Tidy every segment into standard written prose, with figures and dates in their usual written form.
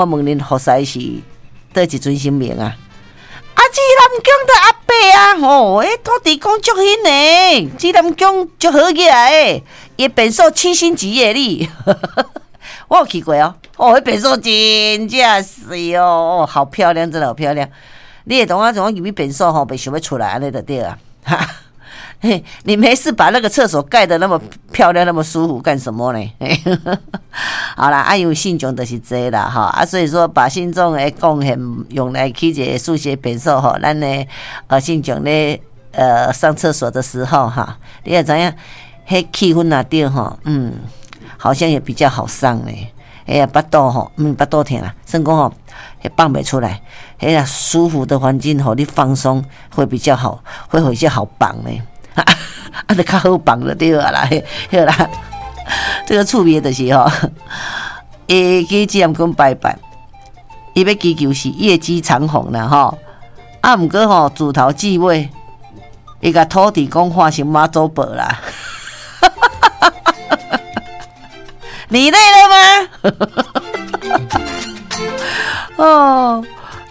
我問恁服侍是佗一尊神明啊？啊，紫南宮的阿伯啊，吼，欸，土地公足興呢，紫南宮足好額的，伊便所七星級的你，我有去過哦，哦，彼便所真正媠哦，哦，好漂亮，真的好漂亮。你會當我從入去便所吼，袂想欲出來按呢就對啊。嘿，你沒事把那個廁所蓋得那麼漂亮，那麼舒服幹什麼呢？好啦，啊，因為信眾就是濟啦，吼啊，所以說把信眾的貢獻用來起一個書寫便所吼，咱的信眾咧上廁所的時候哈，你也知影，彼氣氛若對吼，好像也比較好上咧。哎呀，腹肚吼，腹肚疼啦，算講吼，彼放袂出來，彼個舒服的環境予你放鬆會比較好，會比較好放咧。啊，就較好放就對啊啦，好啦，這個趣味就是吼，伊去紫南宮拜拜，伊欲祈求是業績長虹啦吼，啊，毋過吼自頭至尾，伊共土地公畫成媽祖婆啦，你累了嗎？哦。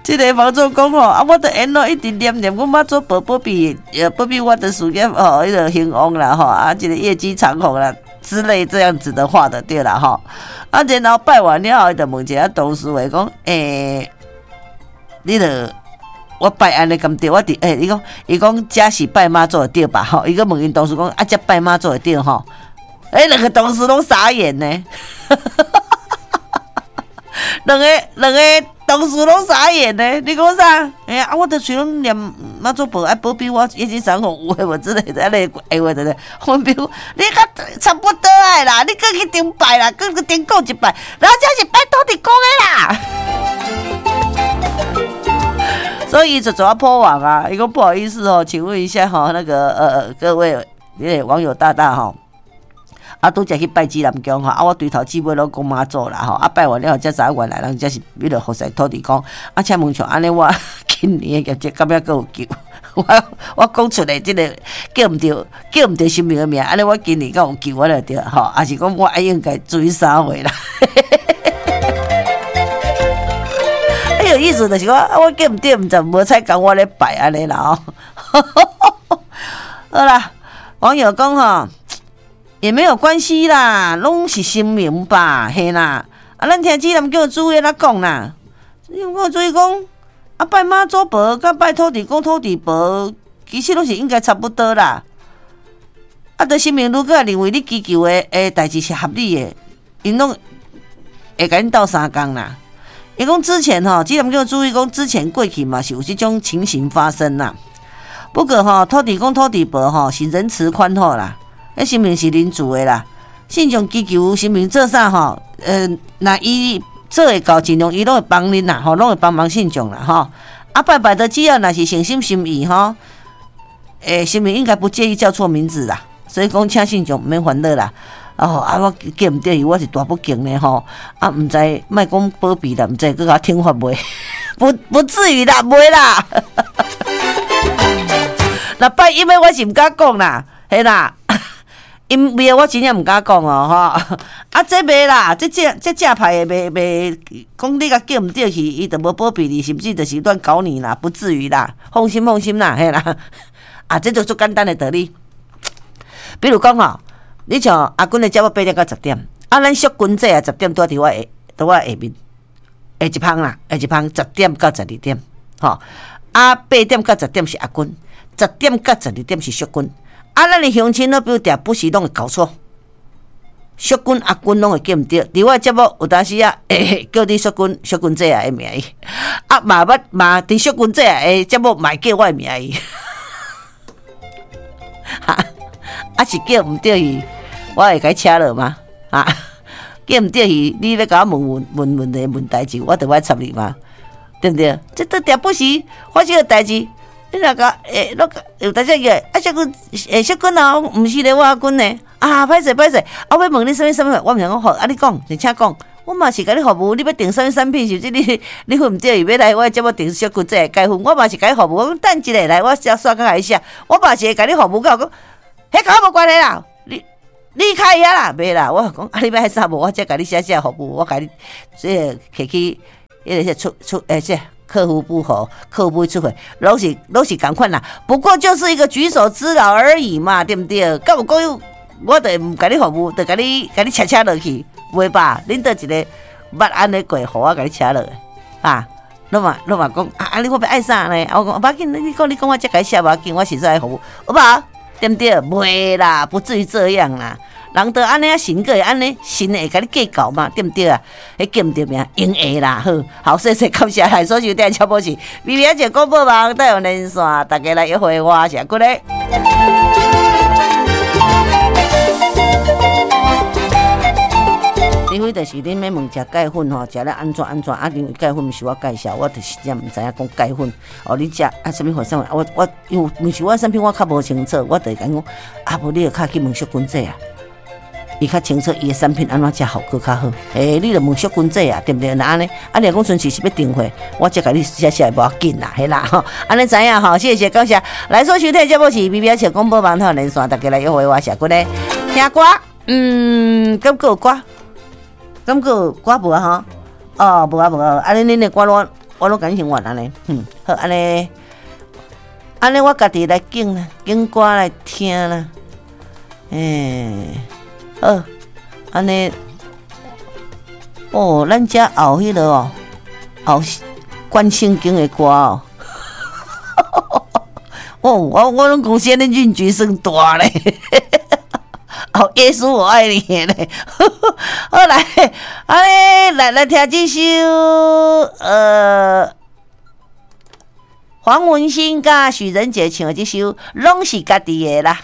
這个房主講吼，啊，我著沿路一直念念，阮媽祖婆保庇，保庇我的事業吼，彼个興旺啦吼，啊，這个業績長虹啦之類這樣子的話的對啦吼。啊，然後拜完了後，伊就問一下同事話講，欸，你著我拜按呢敢對？我佇欸，伊講伊講這是拜媽祖的對吧？吼，伊閣問𪜶同事講，啊，這拜媽祖的對吼？欸，兩個同事攏傻眼呢。兩個兩個同事攏傻眼呢，你講啥？哎呀，我著喙攏念媽祖婆愛保庇我業績長虹有的無之類的，按呢話對不對？我比如你較差不多的啦，你閣去頂拜啦，閣去頂講一擺，人這是拜土地公的啦。所以就做破網啊，伊講不好意思哦，請問一下哈，那個各位網友大大哈。啊，拄才去拜紫南宮吼，啊，我對頭至尾攏講媽祖啦吼，啊，拜完了後才知影原來人這是彼个服侍土地公。啊，請問像按呢，我今年的業績敢猶閣有救？我我講出來這个叫毋著，叫毋著神明的名，按呢我今年敢有救？我就對吼，抑是講我愛應該注意啥貨啦？欸，有意思就是講，我叫毋著，毋知無彩共我咧拜按呢啦吼。好啦，網友講吼。也沒有關係啦，攏是神明吧，嘿啦。啊，咱聽紫南宮主委咧講啦，紫南宮主委講，啊拜媽祖婆佮拜土地公、土地婆，其實攏是應該差不多啦。啊，著神明如果認為你祈求的的代誌是合理的，𪜶攏會共恁鬥相共啦。伊講之前吼，紫南宮主委講之前過去嘛是有這種情形發生啦。不過吼，土地公、土地婆吼是仁慈寬厚啦。彼神明是仁慈的啦，信眾祈求神明做啥吼？若伊做會到，盡量伊攏會幫恁啦，吼，攏會幫忙信眾啦，吼。啊，拜拜的只要若是誠心心意吼，欸，神明應該不介意叫錯名字啦，所以講請信眾毋免煩惱啦。哦，啊，我叫毋著伊，我是大不敬呢吼。啊，毋知莫講保庇啦，毋知閣共我懲罰袂？不不至於啦，袂啦。若拜陰的我是毋敢講啦，嘿啦。陰廟我真正毋敢講哦，吼！啊，這袂啦，這正這正派的袂袂講你共叫毋著去，伊就無保庇你，甚至就是亂搞你啦，不至於啦，放心放心啦，嘿啦。啊，這就足簡單的道理。比如講吼，你像阿君的節目8點到10點，啊，咱淑君姐啊十點拄佇我下，佇我下面下一芳啦，下一芳十點到12點，吼，啊，8點到10點是阿君，十點到十二點是淑君。啊，咱的鄉親攏比如定不時攏會搞錯，淑君阿君攏會叫毋著。佇我節目有當時啊，會叫你淑君、淑君姐仔的名字，啊嘛捌嘛佇淑君姐仔的節目嘛會叫我的名字，哈，啊是叫毋著伊，我會共伊請落嗎？啊，叫毋著伊，你欲共我問問問問題問代誌，我就欲插你嗎？對毋對？這都定不時發生的代誌。你若共欸，攏有當時叫啊，淑君，欸，淑君啊，毋是咧，我阿君呢？啊，歹勢歹勢，啊，欲問你啥物啥物，我毋是講好，啊，你講，你請講，我嘛是共你服務，你欲訂啥物產品，是毋是你你分毋著伊欲來我的節目訂淑君這個解紛，我嘛是共你服務，我講等一下來，我先煞較來寫，我嘛是會共你服務到講，彼佮我無關係啦，你你開遐啦，袂啦，我講啊，你欲愛啥無，我才共你寫寫服務，我共你這個提去。彼个出出欸，這客戶不好，客戶不會出貨，攏是仝款啦。不過就是一個舉手之勞而已嘛，對毋對？敢有講我就毋共你服務，就共你車車落去，袂吧？恁佗一个捌按呢過，予我共你車落啊？攏嘛講啊！你我欲愛啥呢？我講無要緊，你講我才共你寫無要緊，我實在愛服務，好無？對毋對？袂啦，不至於這樣啦。人都按呢啊，神閣會按呢，神會共你計較嘛？對毋對啊？彼叫毋著名，應會啦。好，好，謝謝感謝來所收聽的節目是微微仔笑廣播網台灣連線，大家來約會我是阿骨咧。除非就是恁欲問食鈣粉吼，食了按怎按怎啊？因為鈣粉毋是我介紹，我就是真毋知影講鈣粉哦。你食啊啥物粉啥物？我因為毋是我產品，我較無清楚，我就會共伊講啊，無你就較去問淑君姐啊，伊較清楚伊的產品按怎食效果較好。欸，你就問淑君姐啊，對毋對？若按呢，啊，你若講純粹是欲訂貨，我才共你寫寫無要緊啦，嘿啦吼，按呢知影吼，謝謝感謝。來所收聽的節目是微微仔笑廣播網台連線，大家來約會我是阿骨咧聽歌，嗯，敢閣有歌？敢閣有歌無啊？吼，哦，無啊無啊，按呢恁的歌我我攏共恁先換按呢，嗯，好，按呢，按呢我家己來揀啦，揀歌來聽啦，欸，好，按呢，哦，咱遮後彼个哦，後關聖經的歌哦，哦，我攏公司按呢運氣算大咧。哦，耶穌我愛你咧，好來，按呢來來聽這首，黃文興佮許仁傑唱的這首，攏是家己的啦。